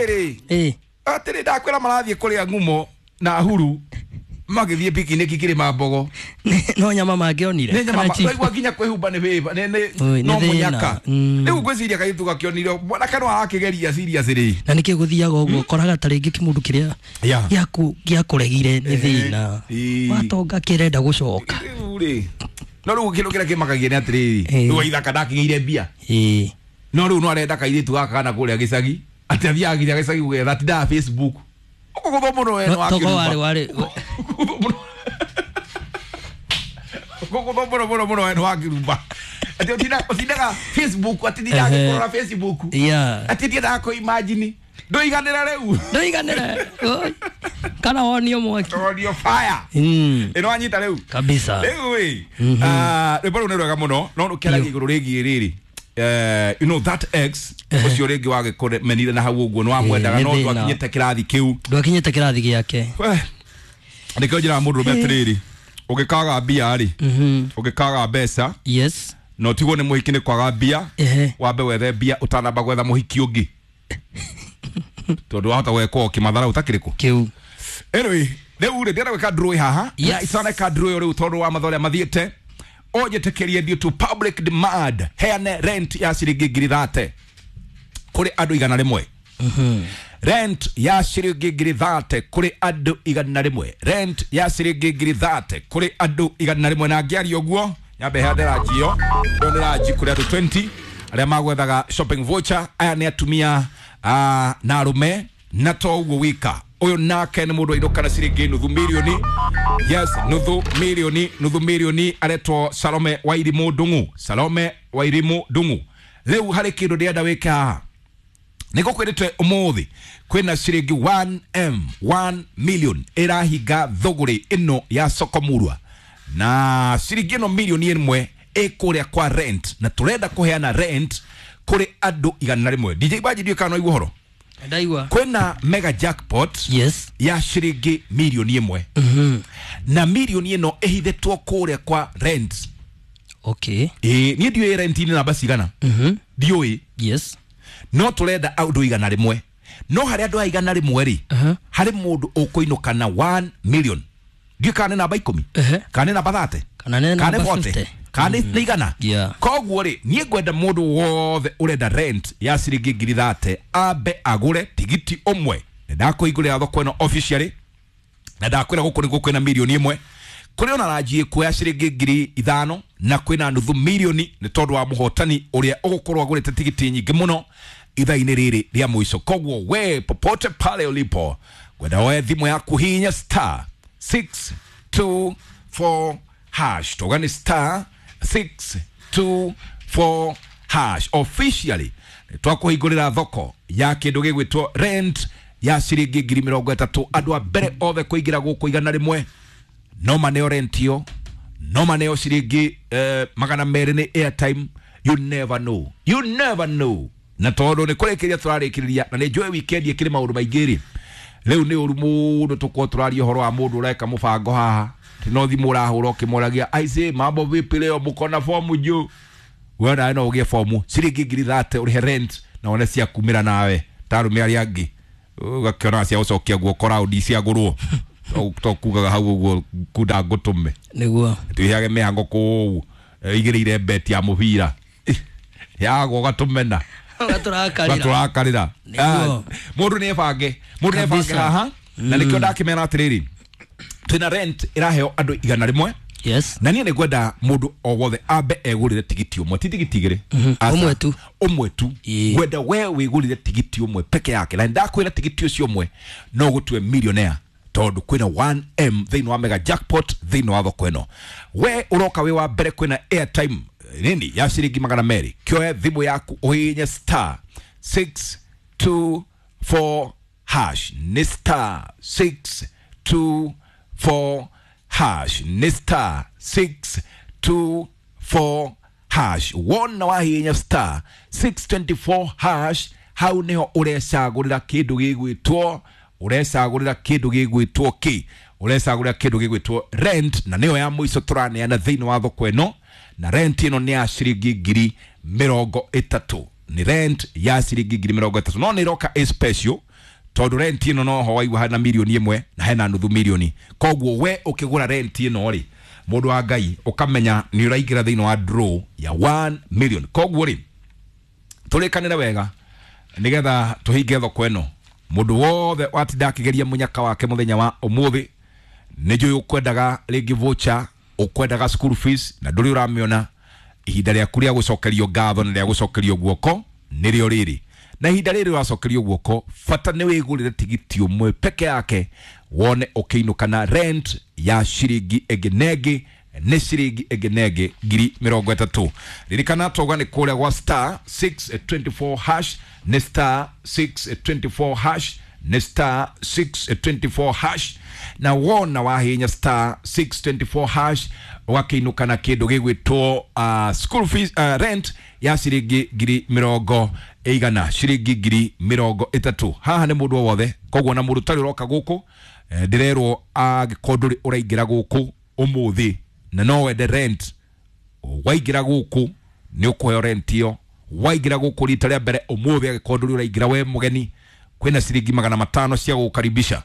Atiriri. Eh. Atiri ndakwira marathie kuria ngumo na huru magithie picnic kirima mbogo. No nyama mangionire. Nĩ nyama waigua nginya kwĩhumba nĩ wĩva Oi, nĩ no thĩna. mũnyaka. Rĩu ngwĩciria kairĩtu gakĩonire mwanake no arakĩgeria serious rĩ. Na nĩkĩ gũthiaga ũguo ũkoraga ta rĩngĩ kĩmũndũ kĩrĩa Yeah. gĩakũregire nĩ thĩna. Ĩĩ. Watonga kĩrenda gũcoka. Rĩu rĩ no rĩu kĩndũ kĩrĩa kĩmakagia nĩ atĩrĩrĩ Ĩĩ. rĩu waithaka ndakĩgĩire mbia Ĩĩ. no rĩu no arenda kairĩtu gaka kana kũrĩa gĩcagi atĩ athiaga nginya gĩcagi gwetha atindaga Facebook ũkũgũthwo mũno we No, togo warĩ warĩ ũkũgũthwo mũno mũno mũno we nĩ wakĩrumba atĩ ũtindaga Facebook atindaga Ehe. akĩrora Facebook Yeah. atĩ ndiendaga kũ imagine ndũiganĩra rĩu Ndũiganĩre. Oi. Kana wonio mwaki. Onio fire ĩno wanyita rĩu Kabisa. rĩu ĩ rwĩmbo rũu nĩ rwega mũno no rũkĩaragia igũrũ rĩgiĩ rĩrĩ you know that ex ũcio rĩngĩ wagĩkũmenire na hau ũguo nĩ wamwendaga nĩ no thĩna. ndwakinyĩte kĩrathi kĩu. Ndwakinyĩte kĩrathi gĩake. We, nĩkĩo njĩraga mũndũ rũme atĩrĩrĩ ũngĩkaga mbia rĩ ũngĩkaga mbeca Yes. na ũtigwo nĩ mũhiki nĩ kwaga mbia Ehe. wambe wethe mbia ũtanamba gwetha mũhiki ũngĩ tondũ wahota gwekwo kĩmathara ũtakĩrĩ kũ. Kĩu. Anyway, rĩu rĩ ndĩrenda gwĩka draw haha Yes. na itaneka draw ĩyo rĩu tondũ wa mathaa ũrĩa mathiĩte ũnjĩtĩkĩrie due to public demand heane rent ya ciringi 30,000 kũrĩ andũ 100. Rent ya ciringi 30,000 kũrĩ andũ 100. Rent ya ciringi 30,000 kũrĩ andũ 100 na ngĩaria ũguo nyambe heane ranji ĩyo ĩyo nĩ ranji kũrĩ andũ 20 arĩa magwethaga shopping voucher. Aya nĩ atumia na arũme na to ũguo wika ũyũ nake nĩ mũndũ wainũka na ciringi nuthu mirioni. Yes, nuthu mirioni, nuthu mirioni aretwo Salome Wairimu Ndung'u. Salome Wairimu Ndung'u. Rĩu harĩ kĩndũ ndĩrenda wĩke haha nä gå kwä rä te å må thä kwä na ciringi 1m 1 million ĩrahinga thũgũrĩ ĩno ya sokomurwa na ciringi ĩno milioni ĩmwe ĩ kũrĩa kwa rent na tũrenda kũheana rent kũrĩ andũ 100. DJ Baji ndiũĩ kana no aigua ũhoro. Ndaigua. Kwĩna mega jackpot Yes. ya ciringi milioni ĩmwe na milioni ĩno ĩhithĩtwo kũrĩa kwa rent. Okay. Ĩĩ niĩ ndiũĩ rent-inĩ namba cigana ndiũĩ. Yes. No tũrenda andũ 100 no harĩ andũ aya 100 rĩ harĩ mũndũ ũkũinũka na 1 million ndiũĩ kana nĩ namba 10 kana nĩ namba 30 Kana nĩ kana nĩ namba 40 50. kana nĩ 100. Yeah. Koguo rĩ niĩ ngwenda mũndũ wothe ũrenda rent ya ciringi 30,000 ambe agũre tigiti ũmwe. Nĩ ndakũhingũrĩra thoko ĩno officially na ndakwĩra gũkũ nĩguo kwĩna milioni ĩmwe kũrĩ ona ranji ĩkuoya ciringi 5,000 na kwĩna nuthu milioni nĩ tondũ wa mũhotani ũrĩa ũgũkorwo agũrĩte tigiti nyingĩ mũno ithaa-inĩ rĩrĩ rĩa mũico. Koguo we popote pale ulipo ngwenda woe thimũ yaku hinya star 624 hash toga nĩ star 624 hash officially twakũhingũrĩra thoko ya kĩndũ gĩgwĩtwo rent ya ciringi 30,000 andũ a mbere othe kũingĩra gũkũ 100 no maneo rent ĩyo no maneo ciringi 200 nĩ airtime. You never know, you never know. Na tondũ nĩ kũrĩkĩrĩria tũrarĩkĩrĩria na nĩ njũĩ weekend ĩkĩrĩ maũndũ maingĩ rĩ rĩu nĩ ũru mũno tũkorwo tũraria ũhoro wa mũndũ ũreka mũbango haha ti no thimũ ũrahũra ũkĩmoragia aisee mambo vipi leo mko na fomu juu we nawe no ũgĩe fomu ciringi 30,000 ũrĩhe rent na wone cia kumĩra nawe ta arũme arĩa angĩ ũgakĩona cia gũcokia guoko raundi ciagũrwo to kugaga hau ũguo kunda ngũtũme Nĩguo. twĩheage mĩhango kũu igĩrĩire beti ya mũbira yagwo ũgatũmena Ũgatũrakarĩra. gatũrakarĩra Nĩguo. mũndũ nĩ ebange mũndũ nĩ ebange Kabisa. haha na nĩkĩo ndakĩmera atĩrĩrĩ twĩna rent ĩraheo andũ 100. Yes. Na niĩ nĩ ngwenda mũndũ o wothe ambe egũrĩre tigiti ũmwe ti tigiti igĩrĩ. Aca. Ũmwe tu. Ũmwe tu. Ĩĩ. Ngwenda we wĩgũrĩre tigiti ũmwe peke yake na ndakwĩra tigiti ũcio ũmwe no gũtue millionaire tondũ kwĩna 1m thĩinĩ wa mega jackpot thĩinĩ wa thoko ĩno we ũroka wĩ wa mbere kwĩna airtime nini ya ciringi 200 kĩoe thimũ yaku ũhihinye star 624 hash nĩ star 624 hash nĩ star 624 hash wona wahihinya star 624 hash hau niho ũrecagũrĩra kĩndũ gĩgwĩtwo ũrecagũrĩra kĩndũ gĩgwĩtwo kĩ ũrecagũrĩra kĩndũ gĩgwĩtwo rent na nĩyo ya mũico tũraneana thĩinĩ wa thoko ĩno na rent ĩno nĩ ya ciringi 30,000 nĩ rent ya ciringi 30,000 no nĩ ĩroka ĩ special. Tondu rent ĩno no ho waigua hena milioni 1 na hena nuthu milioni. Koguo we ũkĩgũra rent ĩno rĩ, mũndũ wa Ngai ũkamenya nĩ ũraingĩra thĩinĩ wa draw ya 1 million. Koguo rĩ, tũrĩkanĩre wega nĩgetha tũhinge thoko ĩno. Mũndũ wothe watinda akĩgeria mũnyaka wake mũthenya wa ũmũthĩ, nĩ njũĩ ũkwendaga rĩngĩ voucher, ũkwendaga school fees na ndũrĩ ũramĩona, ihinda rĩaku rĩa gũcokerio ngatho na rĩa gũcokerio guoko nĩrĩo rĩrĩ. Na ihinda rĩrĩ ũracokerio guoko, bata nĩ wĩgũrĩre tigiti ũmwe peke yake wone ũkĩinũka na rent ya ciringi ĩngĩ na ĩngĩ nĩ ciringi ĩngĩ na ĩngĩ 30,000. Ririkana twauga nĩ kũrĩa gwa star 624 hash, nĩ star 624 hash, nĩ star 624 hash. Na wona wahinya star 624 hash ũgakĩinũka na kĩndũ gĩgwĩtwo school fees, rent ya ciringi 100,000, ciringi 30,000. Haha nĩ mũndũ o wothe, koguo na mũndũ ũtarĩ ũroka gũkũ, ndĩrerwo angĩkorwo ndũrĩ ũraingĩra gũkũ ũmũthĩ na no wende rent, waingĩra gũkũ nĩ ũkũheo rent ĩyo. Waingĩra gũkũ rita rĩa mbere ũmũthĩ, angĩkorwo ndũrĩ ũraingĩra we mũgeni, kwĩna ciringi 500 cia gũgũkaribisha,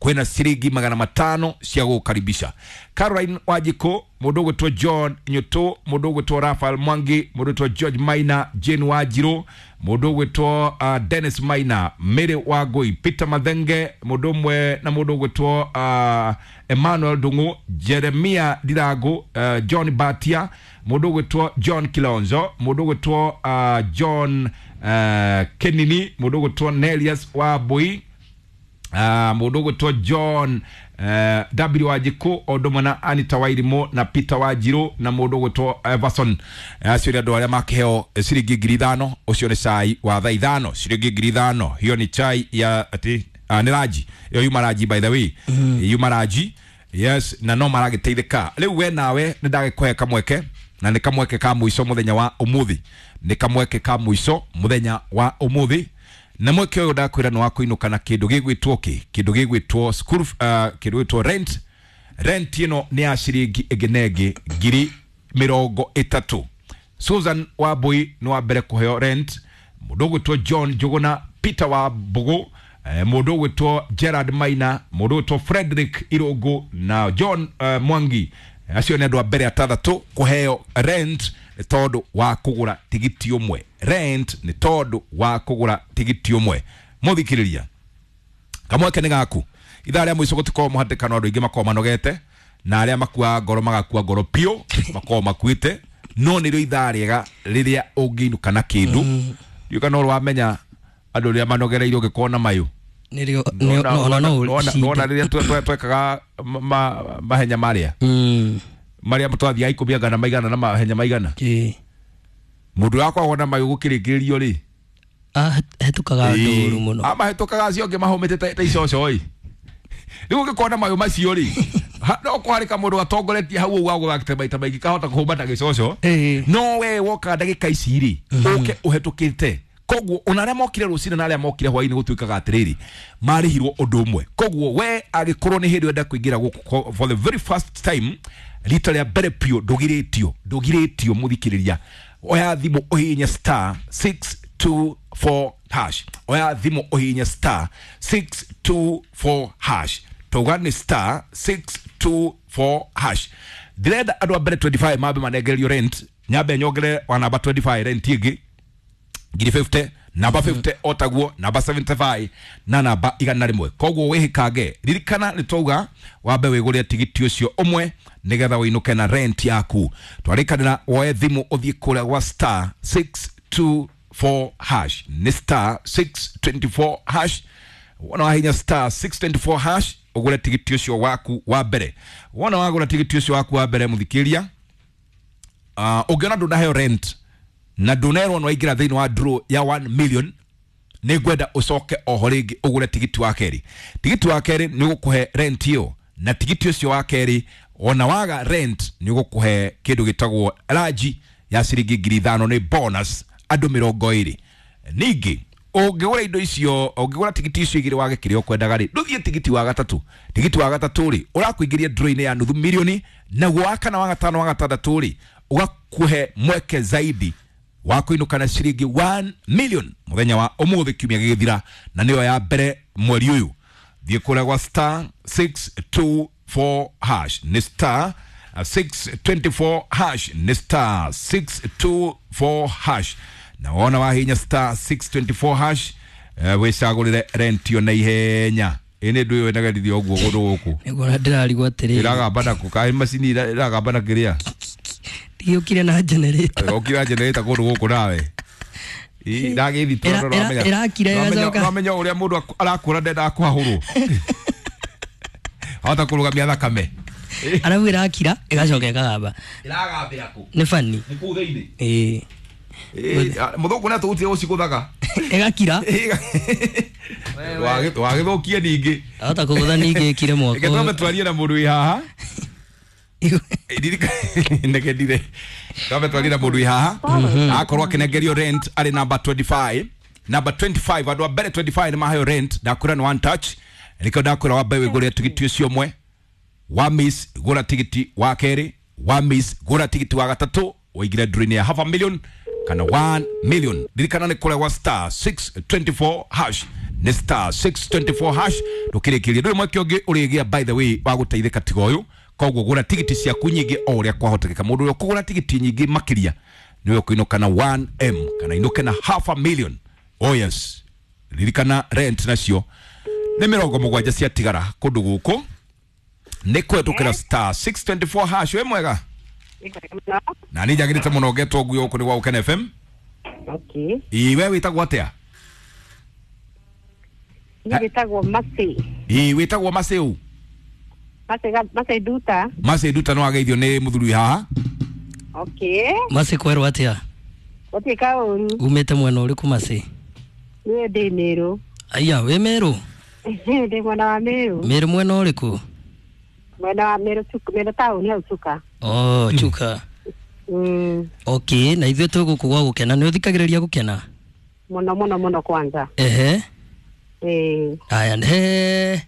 kwĩna ciringi 500 cia gũgũkaribisha. Caroline Wanjikũ, mũndũ ũgwĩtwo John Nyutu, mũndũ ũgwĩtwo Raphael Mwangi, mũndũ ũgwĩtwo George Maina, Jane Wanjiru, mũndũ ũgwĩtwo Dennis Maina, Mary Wangui, Peter Mathenge, mũndũ ũmwe na mũndũ ũgwĩtwo Emmanuel Ndung'u, Jeremia Ndirangu, John Batia, mũndũ ũgwĩtwo John Kilonzo, mũndũ ũgwĩtwo John Kenini, mũndũ ũgwĩtwo Nelius Wambui, mũndũ ũgwĩtwo John W Wanjikũ, o ũndũ ũmwe na Anita Wairimũ na Peter Wanjiru na mũndũ ũgwĩtwo Everson. Acio nĩ andũ arĩa makĩheo ciringi 5,000. Ũcio nĩ cai wa thaa 5, ciringi 5,000. Hiyo ni chai ya ati nĩ ranji ĩyo, yuma ranji, by the way, yuma ranji, yes, na no maragĩteithĩka. Rĩu we nawe nĩ ndagĩkũhe kamweke, na nĩ kamweke ka mũico mũthenya wa ũmũthĩ, nĩ kamweke ka mũico mũthenya wa ũmũthĩ. Na mweke ũyũ ndakwĩra nĩ wa kũinũka na kĩndũ gĩgwĩtwo kĩ, kĩndũ gĩgwĩtwo school, kĩndũ gĩgwĩtwo rent. Rent ĩno nĩ ya ciringi ĩngĩ na ĩngĩ 30,000. Susan Wambui nĩ wa mbere kũheo rent, mũndũ ũgwĩtwo John Njuguna, Peter Wambũgũ, mũndũ ũgwĩtwo Gerard Maina, mũndũ ũgwĩtwo Frederick Irũngũ na John Mwangi. Acio nĩ andũ a mbere atandatũ kũheo rent nĩ tondũ wa kũgũra tigiti ũmwe. Rent nĩ tondũ wa kũgũra tigiti ũmwe. Mũthikĩrĩria, kamweke nĩ gaku. Ithaa rĩa mũico gũtikorwo mũhatĩkano, andũ aingĩ makorwo manogete, na arĩa makuaga ngoro magakua ngoro piũ, makorwo makuĩte, no nĩrĩo ithaa rĩega rĩrĩa ũngĩinũka na kĩndũ. Ndiũĩ kana ũrĩ wamenya andũ rĩrĩa manogereire ũngĩkorwo na mayũ. Nĩrĩo ona no Nona rĩrĩa twekaga mahenya marĩa marĩa twathiaga 10 angana maigana na mahenya maigana, mũndũ wakoragwo na mayũ gũkĩrĩkĩrĩrio rĩ, hetũkaga ndũru mũno. Mahĩtũkaga acio angĩ mahũmĩte ta icoco ĩ. Rĩu ũngĩkorwo na mayũ macio rĩ, no kwarĩka mũndũ atongoretie hau ũguo agũthakĩte maita maingĩ kahota kũhũma na gĩcoco, no we woka ndagĩka ici rĩ, ũke ũhetũkĩte. Koguo ona arĩa mokire rũcinĩ na arĩa mokire hwainĩ gũtuĩkaga atĩrĩrĩ, marĩhirwo ũndũ ũmwe. Koguo we angĩkorwo nĩ hĩndĩ wenda kũingĩra gũkũ for the very first time, rita rĩa mbere piũ, ndũgirĩtio, ndũgirĩtio mũthikĩrĩria. Oya thimũ ũhihinye star 624 hash. Oya thimũ ũhihinye star 624 hash. Tauga nĩ star 624 hash. Ndĩrenda andũ a mbere 25 mambe manengererio rent, nyambe nyongere wa namba 25 rent ĩngĩ 50,000, namba 50 otaguo, namba 75 na namba 100. Koguo wĩhĩkange, ririkana nĩ twauga wambe wĩgũrĩre tigiti ũcio ũmwe nĩgetha ũinũke na rent yaku. Twarĩkanĩra woe thimũ ũthiĩ kũrĩa gwa star 624 hash, nĩ star 624 hash. Wona wahinya star 624 hash ũgũre tigiti ũcio waku wa mbere. Wona wagũra tigiti ũcio waku wa mbere mũthikĩria, ũngĩona ndũnaheo rent na ndũnerwo nĩ waingĩra thĩinĩ wa draw ya 1 million, nĩ ngwenda ũcoke oho rĩngĩ ũgũre tigiti wa kerĩ. Tigiti wa kerĩ nĩ ũgũkũhe rent ĩyo, na tigiti ũcio wa kerĩ ona waga rent nĩ ũgũkũhe kĩndũ gĩtagwo ranji ya ciringi 5,000, nĩ bonus andũ 20. Ningĩ ũngĩgũra indo icio, ũngĩgũra tigiti icio igĩrĩ wage kĩrĩa ũkwendaga rĩ, ndũthiĩ tigiti wa gatatũ. Tigiti wa gatatũ rĩ, ũrakũingĩria draw-inĩ ya nuthu milioni, naguo wa kana, wa gatano, wa gatandatũ rĩ, ũgakũhe mweke zaidi wa kũinũka na ciringi 1 million mũthenya wa ũmũthĩ kiumia gĩgĩthira, na nĩyo ya mbere mweri ũyũ. Thiĩ kũrĩa gwa star 624 hash, nĩ star 624 hash, nĩ star 624 hash, na wona wahinya star 624 hash, wĩcagũrĩre rent yo na ihenya. Ĩ nĩ ndũ ĩyo ĩnagerithia ũguo kũndũ gũkũ. Nĩguo ndĩrarigwo atĩrĩrĩ. Ĩragamba nakũ kaĩ macini ĩragamba na kĩrĩa. Ndiũkire na generator. Okira generator kũndũ gũkũ nawe. Ndagĩthi tondũ Ĩrakira ĩgacoka. Ũramenya ũrĩa mũndũ arakũra ndendaga kwahũrwo. Ahota kũrũgamia thakame. Arabu ĩrakira ĩgacoka ĩkagamba. Ĩragambĩra kũ? Nĩ bani. Nĩ kũu thĩinĩ. Ĩĩ. Mũthũngũ nĩ atũgũtire gũcigũthaga. Ĩgakira. Wagĩthũkie ningĩ. Ahota kũgũtha ningĩ ĩkire mwaka Reke twambe ũyũ. twarie na mũndũ wĩ haha. Ndirikana twambe twarie na mũndũ wĩ haha. Akorwo akĩnengerio rent arĩ number 25. Number 25, andũ a mbere 25 nĩ maheo rent. Ndakwĩra nĩ one touch. Nĩkĩo ndakwĩra wambe wĩgũrĩre tigiti ũcio ũmwe. Wa miss gũra tigiti wa kerĩ, wa miss gũra tigiti wa gatatũ, ũingĩre ndũrũ-inĩ ya half a million kana 1 million. Ririkana nĩ kũrĩa gwa star 624 hash, nĩ star 624 hash. Ndũkĩrĩkĩrie, ndũrĩ mweke ũngĩ ũrĩgĩa by the way wa gũteithĩka tiga ũyũ. Koguo gũra tigiti ciaku nyingĩ o ũrĩa kwahotekeka. Mũndũ ũrĩa ũkũgũra tigiti nyingĩ makĩria nĩwe ũkũinũka na 1M kana inũke na half a million. Oh yes, ririkana rent nacio nĩ 70 ciatigara kũndũ gũkũ nĩ kũhetũkĩra star 624 hash. Wĩ mwega? Na nĩ njagĩrĩte mũno ngetwo nguo gũkũ nĩ gwa Gũkena FM. Okay. Ĩ we wĩtagwo atĩa? Niĩ wĩtagwo Mercy. Ĩ wĩtagwo Macĩu? Mercy Nduta. Macĩ Nduta, nĩ wageithio nĩ mũthuri wĩ haha. Okay. Macĩ, kwerwo atĩa? Gũtirĩ kaũru. Umĩte mwena ũrĩkũ, Macĩ? Niĩ ndĩ Mĩrũ. Aya, wĩ Mĩrũ? Ndĩ mwena wa Mĩrũ. Mĩrũ mwena ũrĩkũ? Mwena wa Mĩrũ, Mĩrũ taũni hau Chuka. Oh, Chuka. Okay, na ithuĩ twĩ gũkũ gwa Gũkena. Nĩ ũthikagĩrĩria Gũkena? Mũno mũno mũno kwanza. Ehe. Ĩĩ. Aya, he.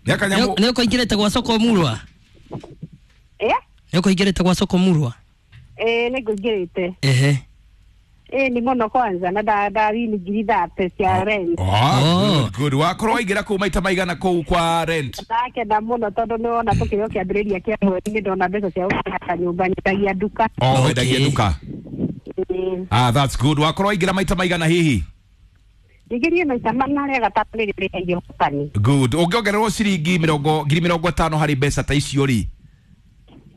Nĩ akanyamũ. Nĩ ũkũingĩrĩte gwa soko murwa? Eh? Nĩ ũkũingĩrĩte gwa soko murwa? Ĩĩ, nĩ ngũingĩrĩte. Ehe. Ĩĩ, nĩ mũno kwanza na ndawini 30,000 cia rent. Ah, Oh. good, good. Wakorwo waingĩra kũu maita maigana kũu kwa rent? Ndakena mũno tondũ nĩ wona tũkĩrĩ o kĩambĩrĩria kĩa mweri nĩ ndona mbeca cia gũkĩhaka nyũmba, nyendagia nduka. Oh, Okay. wendagia nduka. Ĩĩ. Ah, that's good. Wakorwo waingĩra maita maigana hihi? Njingĩrie maita mana, rĩa gatatũ nĩrĩo rĩheire ũhotani. Good. Ũngĩongererwo ciringi 50,000 harĩ mbeca ta icio rĩ?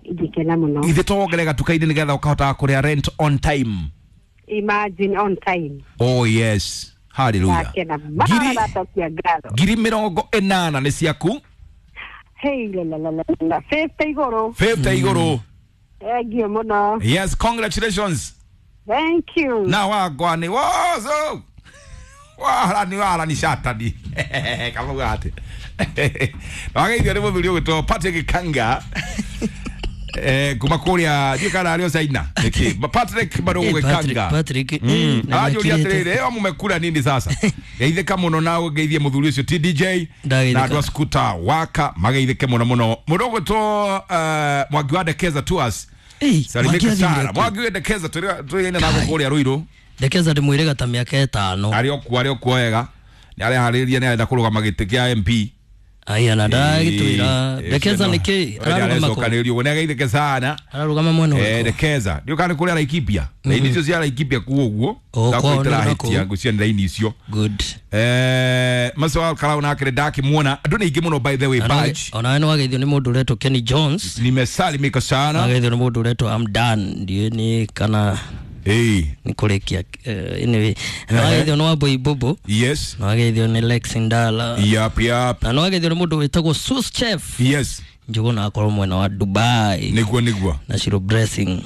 Ingĩkena mũno. Ithe to wongerere gatuka-inĩ nĩgetha ũkahotaga kũrĩha rent on time. Imagine, on time. Oh yes, hallelujah. Ndakena mara ndacokia ngatho. 80,000 nĩ ciaku. Hey, la la la la la, 50 igũrũ. 50 igũrũ. Thank you mũno. Yes, congratulations. Thank you. Na wagwa nĩ wozo warani warani shatani kamauga atĩ wageithio nĩ mũthuri ũgwĩtwo Patrick Kanga kuma kũrĩa ndiũ kana arĩ o China nĩkĩ. Patrick Marũgũ Eh, Patrick, Kanga. Patrick, na Aranjũria nĩakĩrĩte. atĩrĩrĩ, ĩyo mũmekura nini sasa? Geithĩka mũno na ũgeithie mũthuri ũcio TDJ Ndageithĩka. na andũ a skuta waka mageithĩke mũno mũno. Mũndũ ũgwĩtwo Mwangi wa Ndekeza Tours. Ei, Salimika Mwangi athire sana kũ? Mwangi wa Ndekeza, tũrĩ na kũrĩa Ruiru. Ndekeza ndĩmwĩrĩga ta mĩaka 5. Arĩ o kuo wega, nĩ areharĩria, nĩ arenda kũrũgama gĩtĩ kĩa MP. Aya, na ndagĩtwĩra Ndekeza nĩkĩ ararũgama kũ? Arecokanĩrĩrio ũguo, nĩ ageithĩke sana. Ararũgama mwena ũrĩkũ? Ndekeza ndiũ kana nĩ kũrĩa Laikipia, raini icio cia Laikipia kuo ũguo. Oh, kwao nĩ Ndakũitĩra nakũu. ngũcia nĩ raini icio. Good. Macio wa Karau nake ndakĩmuona, andũ nĩ aingĩ mũno by the way badge. Onawe nĩ wageithio nĩ mũndũ ũretwo Kenny Jones. Nimesalimika sana. Wageithio nĩ mũndũ ũretwo Amdan, ndiũĩ nĩ kana nĩ kũrĩkia, anyway, nĩ wageithio nĩ Wambui Bobo. Nĩ wageithio nĩ Lex Ndala. Yap. Na nĩ wageithio nĩ mũndũ wĩtagwo Sus Chef Njũgũna, akorwo mwena wa Dubai. Nĩguo. Na Shiro Blessing.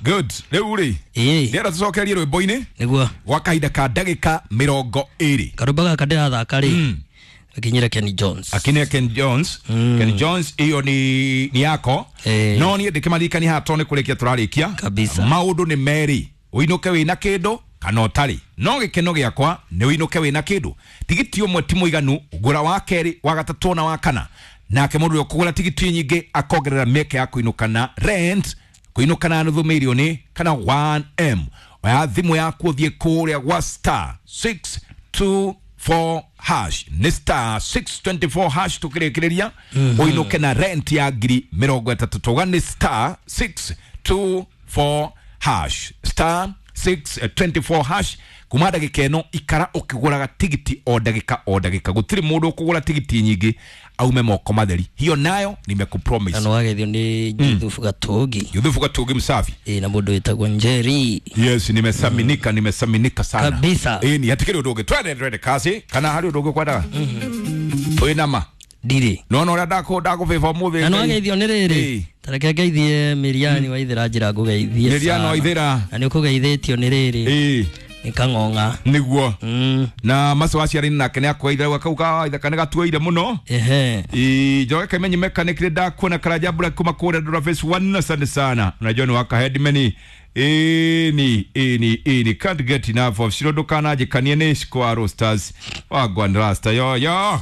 Good. Rĩu rĩ, ndĩrenda tũcokerie rwĩmbo-inĩ Nĩguo. gwa kahinda ka ndagĩka 20. Karũmba gaka ndĩrathaka rĩ, akinyire Kenny Jones. Akine Ken Jones. Ken Jones, iyo ni yako. No niĩ ndĩkĩmaririkania haha tondũ nĩ kũrĩkia tũrarĩkia. Kabisa. Maũndũ nĩ merĩ, ũinũke wĩna kĩndũ kana ũtarĩ, no gĩkeno gĩakwa nĩ ũinũke wĩna kĩndũ. Tigiti ũmwe ti mũiganu, ngũra wa kerĩ, wa gatatũ na wa kana. Nake mũndũ ũrĩa ũkũgũra tigiti nyingĩ akongerera mĩeke ya kũinũka na rent. Kũinũka na nuthu mirioni kana 1M. Oya thimũ yaku ũthiĩ kũrĩa gwa star 624 hash, nĩ star 624 hash tũkĩrĩkĩrĩria ũinũke na rent ya 30,000. Tauga nĩ star 624 hash, star 624 hash. Kuma ndagĩka ĩno ikara ũkĩgũraga tigiti o ndagĩka o ndagĩka, gũtirĩ mũndũ ũkũgũra tigiti nyingĩ aume moko matheri, hiyo nayo nimekupromise. Na nĩwageithio nĩ Juthufu Gatugi. Yuthufu Gatugi msafi. Ĩ, na mũndũ wĩtagwo Njeri. Yes, nimesaminika, nimesaminika sana. Kabisa. Ĩni hatikĩrĩ ũndũ ũngĩ, twende twende kasi, kana harĩ ũndũ ũngĩ kwendaga wĩnama? Ndirĩ. Nona ũrĩa ndakũbĩba ũmũthĩ. Na nĩwageithio nĩ Ĩ. rĩrĩ, tareke ngeithie Mĩriani wa Ithĩra, njĩra ngũgeithie Mĩriani sana. wa Ithĩra. Na nĩ ũkũgeithĩtio nĩ rĩrĩ, nĩ Kang'ong'a. Nĩguo na macio aciari nake nĩ akwaithira kau ka ithaka nĩ gatuoire mũno. Ehe. Njoge Kaimenyi mechanic nĩ ndakuona Karanja Black kuma kũrĩa Ndura phase 1, asante sana, unajua ni waka headman. Ĩni ĩni ĩni, can't get enough of Shiro, ndũkananjĩkanie nĩ Square Stars wagwan rasta yo yo.